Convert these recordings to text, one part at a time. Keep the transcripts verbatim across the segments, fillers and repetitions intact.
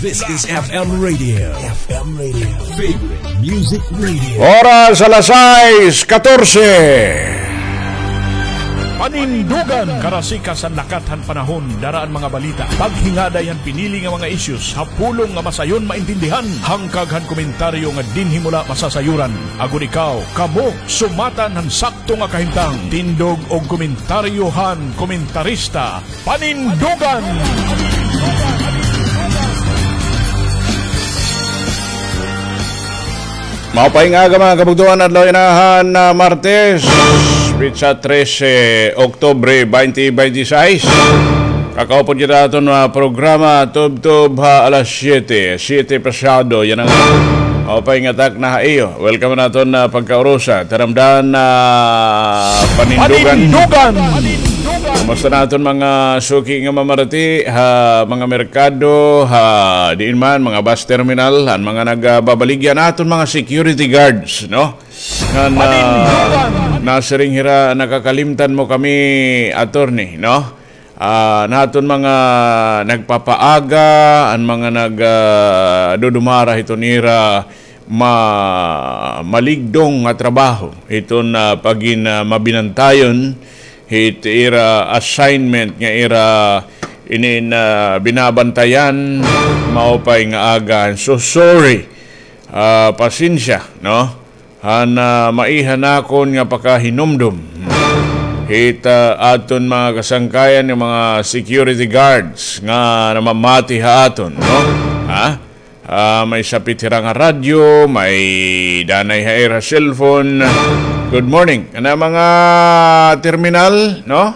This is F M Radio. F M Radio. Favorite Music Radio. Oras alas sais katorse. Panindugan. Karasikas han lakat han panahon, dara an mga balita, paghingaday han pinili nga mga issues ha pulong nga masayon maintindihan, hangkag han komentaryo nga dinhi mo la masasayuran, agod ikaw, kamo, sumatan han sakto nga kahimtang. Tindog og komentaryo han komentarista. Panindugan! Maupay nga aga, mga kabugtoan, adlaw yana han, ah, Martes, petsa trese, Oktubre, twenty twenty-six. Kakaupod kita aton, ah, programa, tubtob ha alas siyete, siyete pasado, yana nga. Maupay nga takna ha iyo. Welcome ha aton, ah, pagkaurusa. Taramdan, ah, Panindugan. Panindugan! Kumusta na aton mga suki nga mamarati ha mga merkado, ha diin man, mga bus terminal, an mga nagababaligya, an aton mga security guards, no? Ngan, ah, nasiring hira, nakakalimtan mo kami, attorney, no? Ah, an aton mga nagpapaaga, an mga nag, ah, dudumara hiton ira ma-, maligdong nga trabaho, hiton, ah, pagin, ah, mabinantayon hit ira assignment nga ira inin, ah, binabantayan, maupay nga aga. So sorry, ah, pasensya, no? Han, ah, maiha nakon nga pakahinumdom hit, ah, aton mga kasangkayan nga mga security guards nga namamati ha aton, no? Ha? Ah, may sapit hira nga radyo, may danay ha ira cellphone. Good morning. Kana mga terminal, no?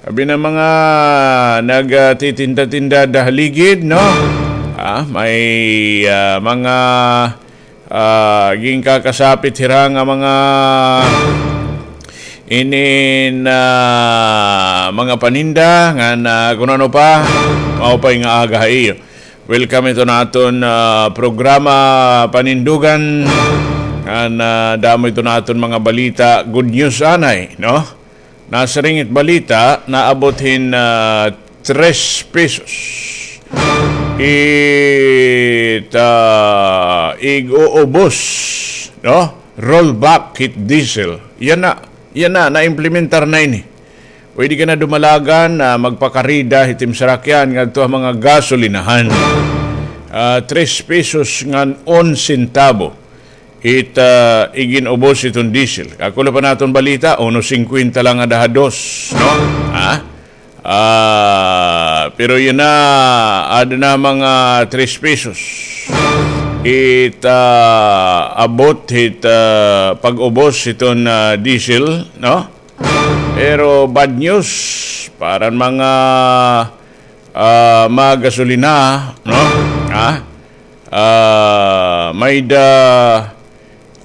Abi na mga nagtitinda-tinda da ha ligid, no? Ah, may, ah, mga, ah, ginkakasapit hira nga mga inin, ah, mga paninda, ngan kun ano pa, maupay nga aga ha iyo. Welcome ito naton, ah, programa Panindugan. Ngan, ah, damo ito naton mga balita. Good news anay, no? Nasiring it balita, naabot hin, ah, tres pesos it, ah, ig-uubos, no? Rollback hit diesel. Yana, yana, naimplementar na ini. Pwede ka na dumalagan, ah, magpakarida hit im sarakyan ngadto ha mga gasolinahan. Ah, tres pesos ngan un sentabo it, ah, igin-ubos hiton diesel. Kakulo pa naton balita, uno singkwenta la ngada ha dos, no? Ha? Ah, pero yana, ada na mga tres pesos it, ah, abot hit, ah, pag-ubos hiton, ah, diesel, no? Pero bad news para han mga, ah, mga gasolina, no? Ha? Ah, may-ada,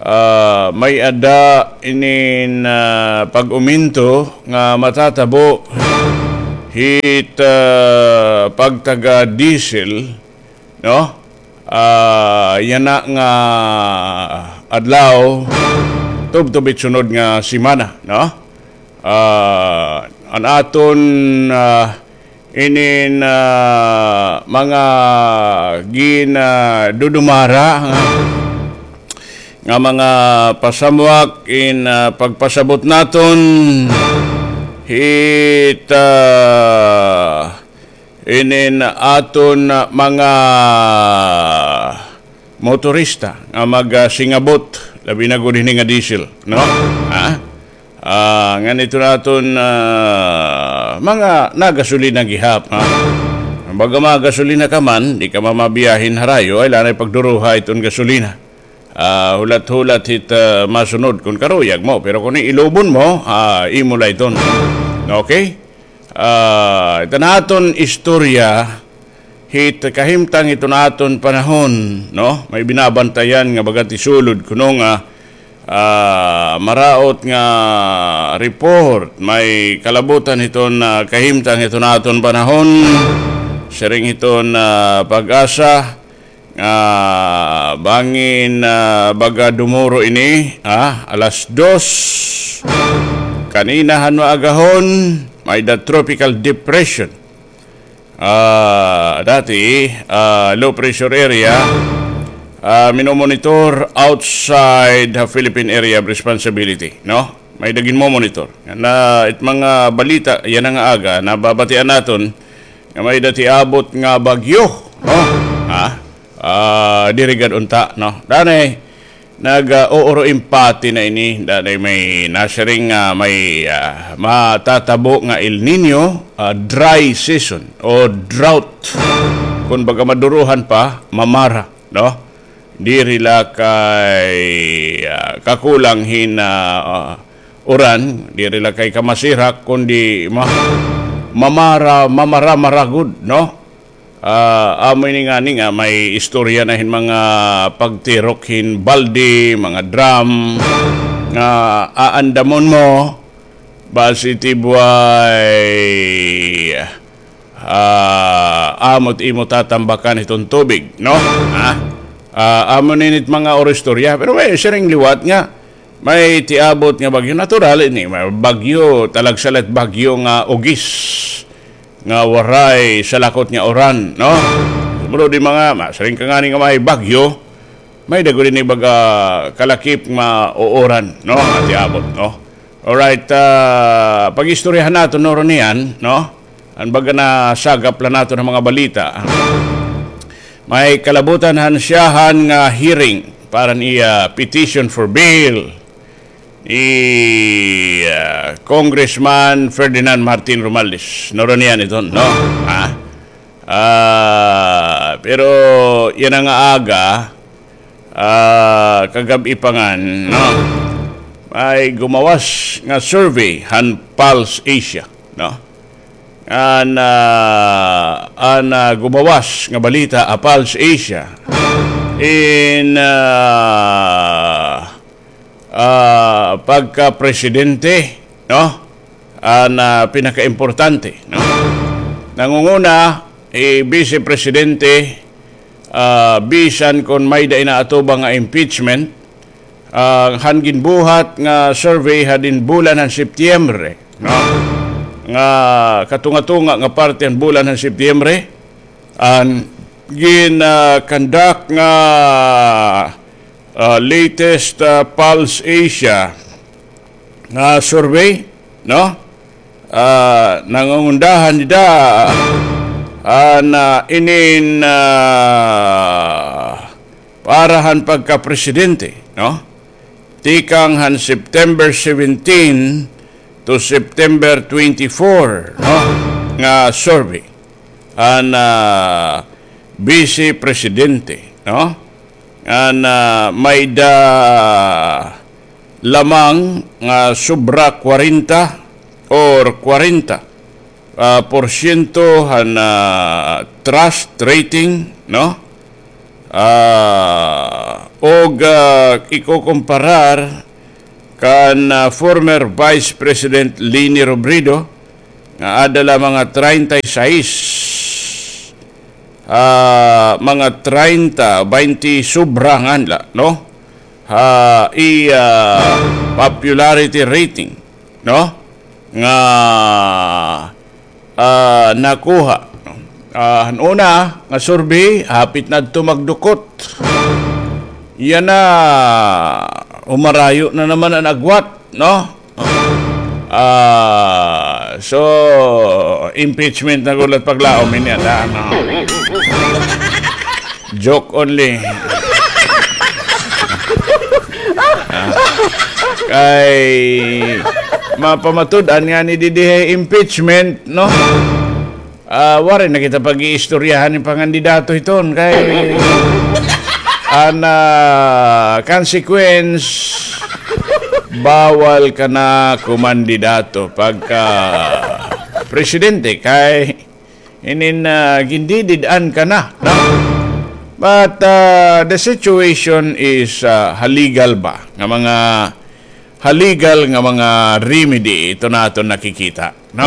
ah, may-ada inin, ah, pag-uminto nga matatabo hit, ah, pagtaga diesel, no? Ah, yana nga adlaw, tubtob hit sunod nga semana, no? Ah, an aton, ah, inin, ah, mga gin, ah, dudumara nga, nga mga pasamwak in, ah, pagpasabot naton hit, ah, inin aton, ah, mga motorista nga mag, ah, singabot, labi na gud hini nga diesel, no? Ha? Ah, ngan ito naton, ah, mga nagasolina gihap, ha? Baga mga gasolina ka man, di ka mamabiyahin harayo, ay lanay pagduruha iton gasolina. Ah, hulat-hulat hit, ah, masunod kun karuyag mo. Pero kun ilubon mo, ah, imo la iton. Okay? Ah, ito naton istorya, hit kahimtang hiton aton panahon, no? May binabantayan nga baga it sulod kuno nga, ah, maraot nga report, may kalabutan hiton, ah, kahimtang hiton aton panahon, siring hiton, ah, PAGASA, nga bangin, ah, baga dumuro ini, ah, alas dos. Kanina han maagahon, may-ada tropical depression. ah, dati, ah, low pressure area, ah, minomonitor outside the Philippine Area of Responsibility, no? May-ada ginmomonitor. Na it mga balita yana nga aga, nababatian naton nga may-ada tiabot nga bagyo, no? Ha? Ah, diri gad unta, no? Danay, nag, ah, uuro impati na ini, danay may nasiring nga may, ah, matatabo nga El Niño, ah, dry season o drought. Kun baga maduruhan pa, mamara, no? Diri la kay, ah, kakulang hin, ah, ah, uran, diri la kay kamasirak, kundi ma-, mamara, mamara-mara gud, no? Ah, amo ini ngani nga may istorya na hin mga pagtirok hin balde, mga drum, nga aandamon mo, basi tibway, ah, amo it imo tatambakan hiton tubig, no? Ha? Ah, amo ini it mga oro istorya. Pero may siring liwat nga may tiabot nga bagyo. Natural ini, may bagyo, talagsa la it bagyo nga ugis, nga waray salakot nga uran, no? Sumulod ini mga, masiring ka ngani nga may bagyo, may-ada gud ini baga kalakip nga uuran, no? Nga tiabot, no? Alright, ah, pag-istoryahan naton, no, Ronian, no? An baga nasagap la naton nga mga balita. May kalabutan han syahan nga hearing para han iya petition for bail ni, ah, Congressman Ferdinand Martin Romualdez. No, Ronian, iton, no? Ha? Ah, pero yana nga aga, ah, kagab-i pa ngan, no? May gumawas nga survey han Pulse Asia, no? An, ah, an, ah, gumawas nga balita, ah, Pulse Asia, in, ah, ah, pagka-presidente, no? An, ah, pinakaimportante, no? Nangunguna, eh, Vice Presidente, ah, bisan kon may-ada inaatubang nga impeachment, ah, han ginbuhat nga survey hadin bulan han Setyembre, no? Nga katunga-tunga nga parte han bulan han Setyembre, an gin, ah, conduct nga, ah, latest, ah, Pulse Asia nga survey, no? Ah, nangungundahan dida, ah, na inin, ah, para han pagkapresidente, no? Tikang han September seventeen to September twenty-four, no? Nga survey han, ah, Vice Presidente, no? An, ah, may-ada lamang nga sobra kwarenta or kwarenta, ah, porsyento han, ah, trust rating, no? Ah, og, ah, ikukumparar kan, ah, former Vice President Leni Robredo, nga ada la mga treinta y seis, ah, mga treinta, baynte sobra ngani la, no? Ha iya popularity rating, no? Nga, ah, nakuha, no? Ah, han una nga survey, hapit na adto magdukot. Yana, umarayo na naman an agwat, no? Ah, so, impeachment na gud la it paglaom ini, ada, no? Joke only. Ah, kay mapamatud-an ngani didi hay impeachment, no? Ah, waray na kita pag-iistoryahan hin pangandidato hiton kay an, ah, consequence, bawal ka na kumandidato pagka presidente kay inin, ah, gindidid-an ka na, no? But, ah, the situation is, ah, ha legal ba nga mga ha legal nga mga remedy ito naton nakikita, no?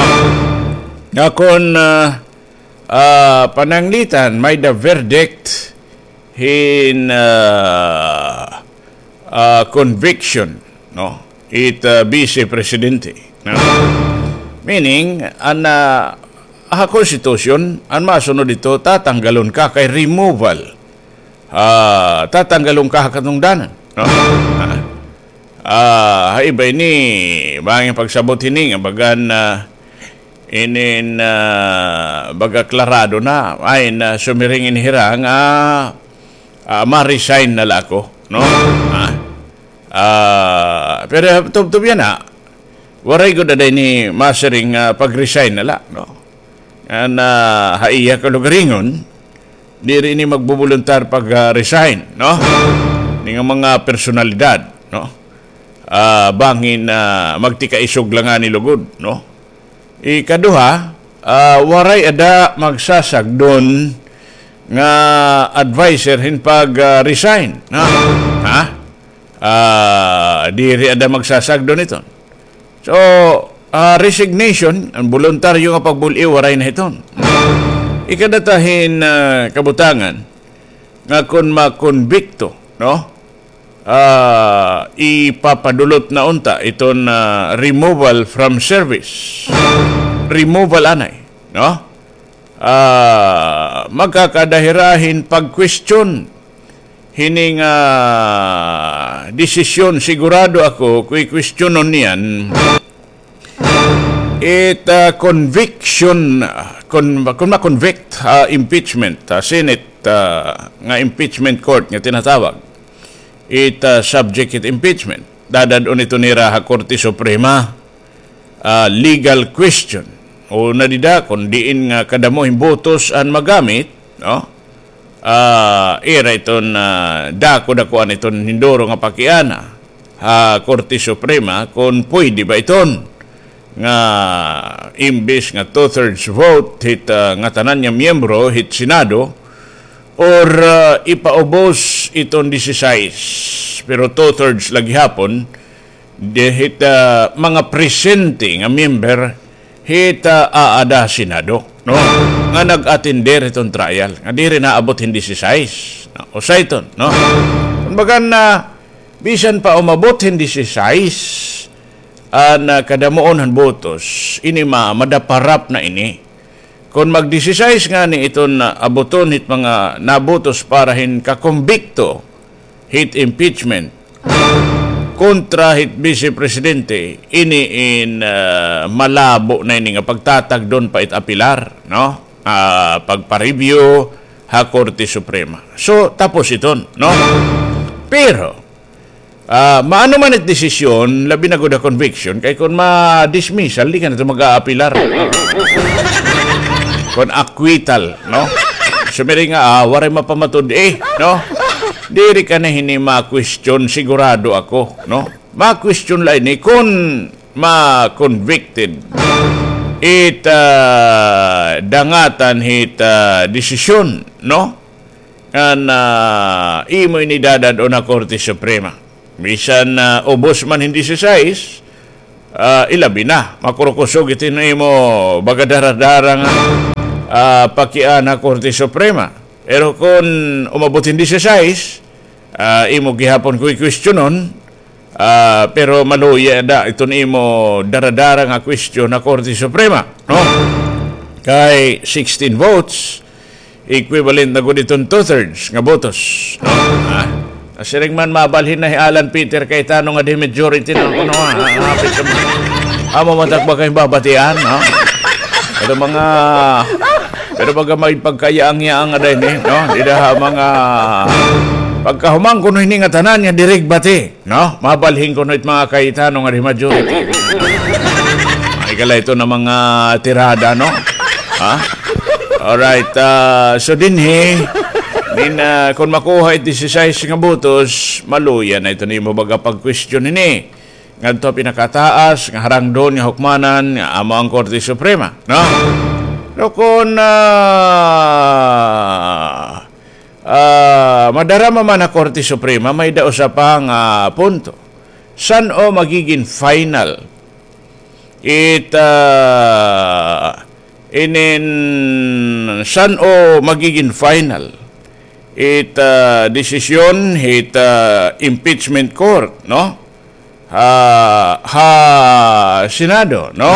Nga kon, ah, ah, pananglitan may-ada verdict hin, ah, ah, conviction, no? It, ah, Vice Presidente, no? Meaning, an, ah, ha konstitusyon, an masunod ito, tatanggalon ka kay removal. Ah, tatanggalon ka ha katungdanan, no? Ah, ah, ha iba ini, bangin pagsabot hini nga bagan, ah, inin, ah, baga klarado na, ay na sumiring ini hira nga, ah, ma-resign na la ako, no? Ah, ah, pero tubtob yana, waray gud ada ini masiring nga pag-resign na la, no? An, ah, ha iya kalugaringon, diri ini magboboluntar pag, ah, resign, no? Ini nga mga personalidad, no? Ah, bangin, ah, magtikaisog la ngani lugod, no? Ikaduha, ah, waray ada magsasagdon nga adviser hin pag, ah, resign, no? Ha? Ah, diri ada magsasagdon iton. So, ah, resignation, an boluntaryo nga pagbul-i, waray na hiton. Ikadata hin, ah, kabutangan nga kon makonbikto, no? Ah, ipapadulot na unta iton, ah, removal from service. Removal anay, no? Ah, magkakada hira hin pag-question hini nga desisyon. Sigurado ako, kuy-questionon niyan it, ah, conviction, ah, kon, kon ma-convict, ah, impeachment, ah, Senate, ah, nga impeachment court nga tinatawag. It, ah, subject it impeachment. Dadad-on ito nira ha Korte Suprema, ah, legal question. Una dida, kon diin nga kadamo hin botos an magamit, no? Ah, ira iton, ah, dako-dakoan iton hinduro nga pakiana ha Korte Suprema kon pwede ba iton nga imbis nga two-thirds vote hit, ah, ngatanan nga miyembro hit Senado, or, ah, ipaubos iton disisais, pero two-thirds la gihapon di hit, ah, mga presente nga member hit, ah, aada ha Senado, no? Nga nag-atender hiton trial, nga diri naabot hin disisais, no? Usa iton, no? Kumbaga na, bisan pa umabot hin disisais an, ah, kadamuon han botos, ini ma-, madaparap na ini. Kon mag-disisais ngani iton, ah, abuton hit mga nabotos para hin kakumbikto hit impeachment kontra hit Vice Presidente, ini in, ah, malabo na ini nga pagtatagdon pa it apilar, no? Ah, pagpa-review ha Korte Suprema. So, tapos iton, no? Pero, ah, maano man it desisyon, labi na gud ha conviction, kay kon ma-dismissal, di ka na ito mag-aapilar. Kon acquittal, no? Sumiring nga, ah, waray mapamatud-i, no? Diri ka na hini ma-question, sigurado ako, no? Ma-question la ini kon ma-convicted it, ah, dangatan hit, ah, desisyon, no? Ngan, ah, imo ini dadad-on ha Korte Suprema. Bisan, ah, ubos man hin disisais, ah, ilabi na, makurukusog iton imo baga dara-dara nga, ah, pakiana ha Korte Suprema. Pero kon umabot hin disisais, ah, imo gihapon kuy-questionon, ah, pero maluya da iton imo dara-dara nga question ha Korte Suprema, no? Kay sixteen votes, equivalent na gud iton two-thirds nga botos, no? Ah, siring man mabalhin na hi Alan Peter Cayetano nga di majority na kuno, ah, ah, hapit sa mga, amo man tak ba kay babatian, no? Pero mga, pero baga may pagkayaang-yaang nga din, eh, no? Dida ha mga pagkahuman kuno hini nga tanan nga diri bati, no? Mabalhin kuno it mga Cayetano nga di majority. Ay, kala ito na mga tirada, no? Ha? Alright, ah, so dinhi, nin, ah, kung makuha it disisais nga botos, maluya na ito nimo baga pag-question ini. Ngadto pinakataas nga harangdon nga hukmanan nga amo ang Korte Suprema, no? Pero kun, ah, ah, madarama man ha Korte Suprema, may-da usa pa nga punto. San-o magigin final it, ah, inin, san-o magigin final it, ah, desisyon hit, ah, impeachment court, no? Ha, ha Senado, no?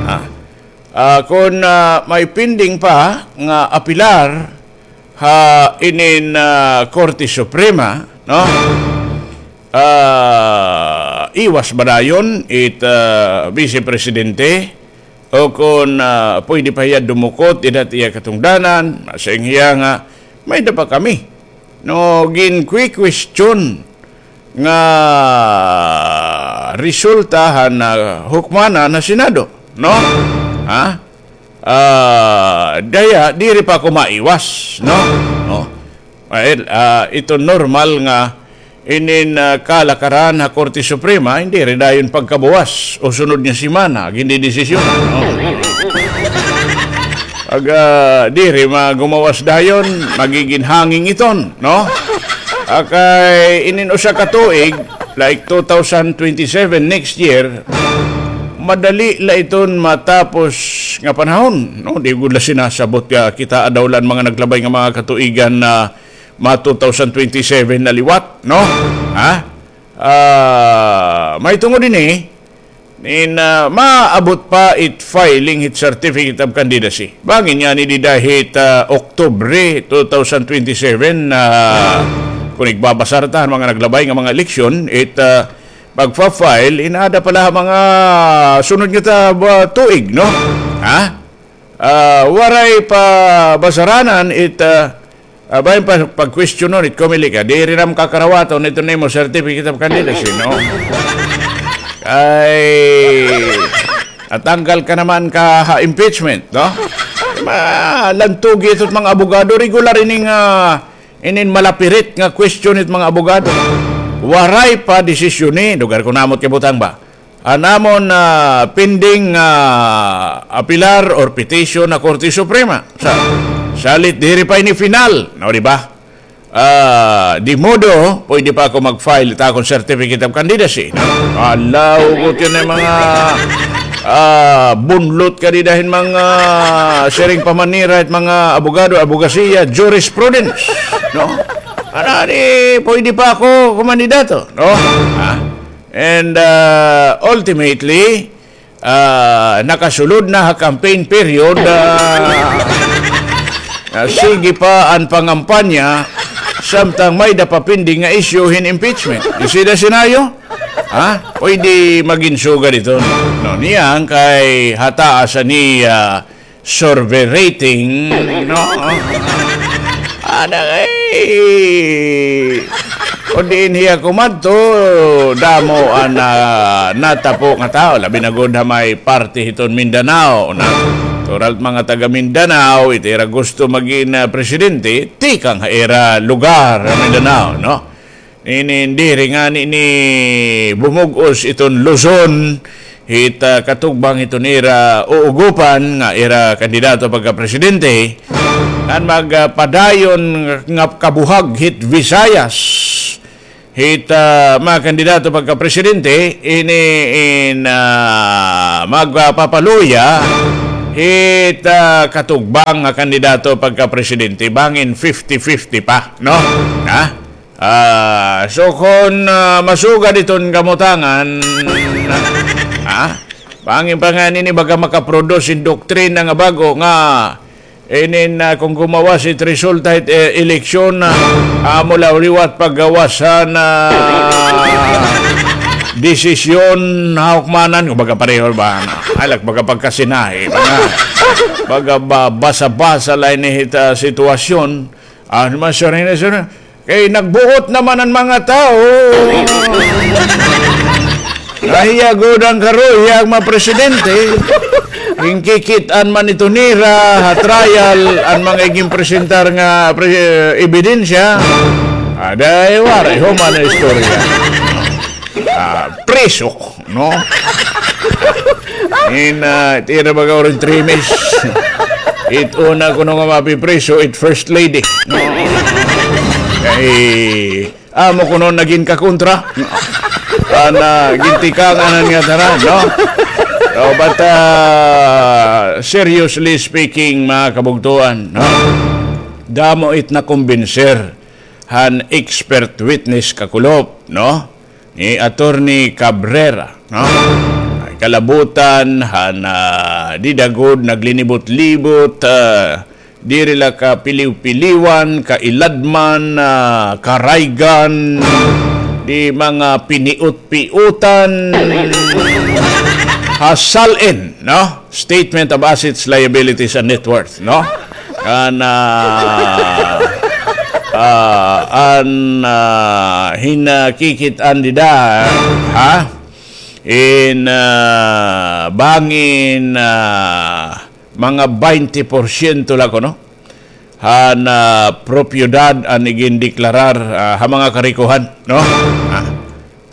Ah. Ah, kon, ah, may pending pa nga apilar ha inin, ah, Korte Suprema, no? Ah, iwas ba dayon it, ah, Vice Presidente? O kon, ah, pwede pa hiya dumukot dida ha iya katungdanan, masiring hiya nga may-ada pa kami. No, gin-question nga resulta han, ah, hukmanan ha Senado, no? Ha? Ah, daya, diri pa ako maiwas, no? No? Well, ah, ito normal nga inin, ah, kalakaran ha Korte Suprema, diri dayon pagkabuwas o sunod nga semana, gindidesisyon, no? Pag, ah, diri magumawas dayon, magigin hanging iton, no? Ah, kay inin usa ka tuig, like two thousand twenty-seven next year, madali la iton matapos nga panahon, no? Di gud la sinasabot nga kitaa daw la an mga naglabay nga mga katuigan na ma two thousand twenty-seven na liwat, no? Ha? Ah, mahitungod ini, nin, ah, maabot pa it filing hit Certificate of Candidacy. Bangin ngani dida hit, ah, Oktubre two thousand twenty-seven, ah, kon igbabasar ta han mga naglabay nga mga eleksyon, it, ah, pagfa-file, in-aada pa la ha mga sunod nga ta-, ba, tuig, no? Ha? Ah, waray pa basaranan it, ah, ah, bahin pa pagkwestiyonon it Comelec, ah, diri na makakarawaton iton imo certificate of candidacy, no? Ay, natanggal ka naman ka ha impeachment, no? Malantugi iton mga abogado, regular ini nga inin malapirit nga question it mga abogado. Waray pa desisyon ni, lugar ko namot kay butang ba? An amon, ah, pending, ah, apilar or petition ha Korte Suprema. Sa, salit diri pa ini final, no, di ba? Ah, di modo, pwede pa ako mag-file it akon certificate of candidacy, no? Ala, hugot yun an mga, ah, bunlot ka dida hin mga siring pa manira it mga abogado, abogasiya, jurisprudence, no? Ano, di, pwede pa ako kumandidato, no? Ha? And, ah, ultimately, ah, nakasulod na ha campaign period, ah, ah, sige pa an pangampanya, samtang may-ada pa pending nga issue hin impeachment. You see the scenario? Ha? Pwede magin sugad ito. No, niyan kay ha taas ani, ah, survey rating, no? Ada, eh, kon diin hiya kumadto, damo an, ah, natapo nga tawo, labi na gud ha may parte hiton Mindanao, no? Natural mga taga Mindanao, it ira gusto magin, ah, presidente, tikang ha ira lugar ha Mindanao, no? Ini diri ngani ni bumug-os iton Luzon, hit, ah, katugbang hiton ira uugopan nga ira kandidato pagkapresidente, ngan magpadayon nga kabuhag hit Visayas, hit, ah, mga kandidato pagkapresidente, ini in, ah, magpapaluya hit, ah, katugbang nga kandidato pagkapresidente, bangin fifty fifty pa, no? Ha? Ah, so kon, ah, masugad iton kamutangan, ha? Bangin pa ngani ini baga makaproduce hin doktrina nga bag-o nga inin, ah, kon gumawas it resulta hit, eh, eleksyon, ah, amo la liwat paggawas han, ah, desisyon ha hukmanan, kumbaga pareho ba na? Ay, lak, baga pagkasinahi, baga, baga ba-, basa-basa la ini hit, ah, sitwasyon. Ah, mas sure na, sure na. Kay nagbuot naman an mga tawo. Nahiya gud an karuya an mga presidente. Ginkikit-an man ito nira ha trial an mga iginpresentar nga pre-, ebidensya. Aday, waray human nga istorya. Ah, priso, no? In, ah, it ira baga orange trimis. It una kuno nga mapipriso, it first lady. No? Kay, amo kuno nagin kakontra. An, ah, gintikangan nga tanan, no? So, but, ah, seriously speaking, mga kabugtuan, no? Damo it nakumbinser han expert witness kakulop, no? Ni Attorney Cabrera, no? Ay, kalabutan, han, ah, dida gud naglinibot-libot, ah, diri la kapiliw-piliwan, kailadman, ah, karaygan, di mga piniot-piotan, ha SALN, no? Statement of Assets, Liabilities, and Net Worth, no? An, ah, ah, an, ah, hinakikit-an dida, ha? In, ah, bangin, ah, mga baynte porsyento la kuno han, ah, propiedad an igindeklarar, ah, ha mga karikohan, no? Ah,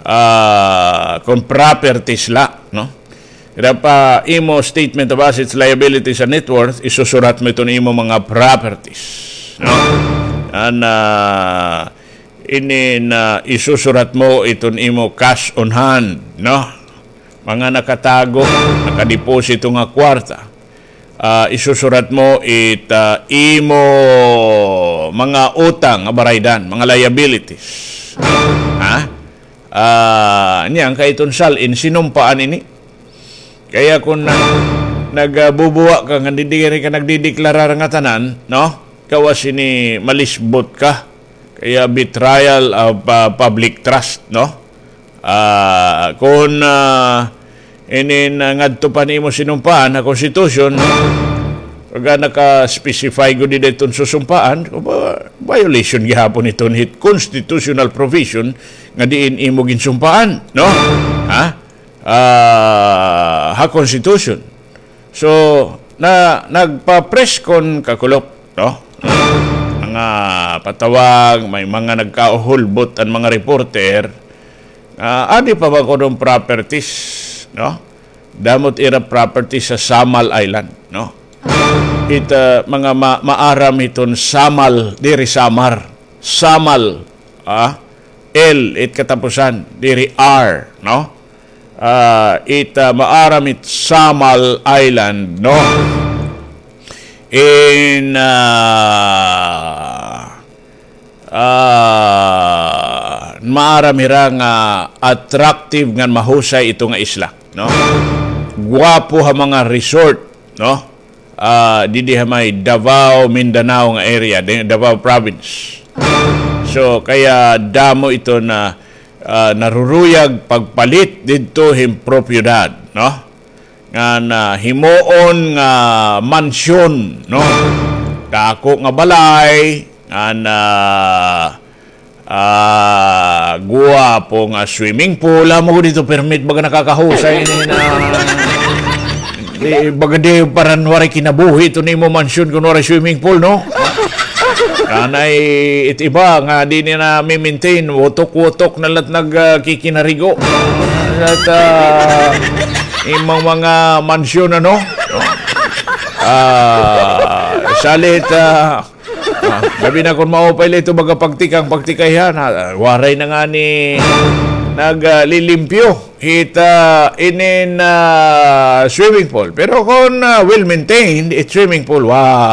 ah, kon properties la, no? Ira pa imo statement of assets, liabilities, and net worth, isusurat mo iton imo mga properties, no? An, ah, inin, ah, isusurat mo iton imo cash on hand, no? Mga nakatago, nakadeposito nga kwarta. Ah, isusurat mo it, ah, imo mga utang nga baraydan, mga liabilities. Ha? Ah, niyan kay iton SALN sinumpaan ini. Kaya kon na, nagbubuwa ka nga diri ka nagdedeklarar nga tanan, no? Gawas ini malisbot ka. Kaya betrayal of, ah, public trust, no? Ah, kon, ah, inin, ah, ngadto pa nimo sinumpaan ha Constitution, pagka naka-specify gud dida iton susumpaan, violation gihapon iton hit constitutional provision nga diin imo ginsumpaan, no? Ha? Ah, ha Constitution. So, na, nagpa-press con kakulop, no? Mga patawag, may mga nagkahulbot an mga reporter. Ah, adi pa ba kuno properties, no? Damo it ira properties ha Samal Island, no? It, ah, mga ma-, maaram hiton Samal, diri Samar. Samal, ah, L it katapusan, diri R, no? Ah, it, ah, maaram it Samal Island, no? In, ah, ah, maaram hira nga attractive ngan mahusay ito nga isla, no? Guwapo ha mga resort, no? Ah, didi ha may Davao, Mindanao nga area, di, Davao Province. So, kaya damo ito na, ah, naruruyag pagpalit didto hin propiedad, no? Nga na himuon nga mansyon, no? Dako nga balay, nga na, ah, guwapo nga swimming pool. Amo gud ito permit, baga nakakahusay ini na. Di, baga di paran waray kinabuhi ito nimo mansyon kun waray swimming pool, no? Kanay it iba nga di nila mi-maintain, wutok-wutok na la't nag, ah, kikinarigo. At, ah, imong mga mansyon, ano? Ah, salit, ah, ah, labi na kun maupay la ito, baga pagtikang, pagtikayhan, ah, waray na ngani nag, ah, lilimpyo. Hita inin, ah, swimming pool. Pero kon, ah, well maintained, it swimming pool, wow.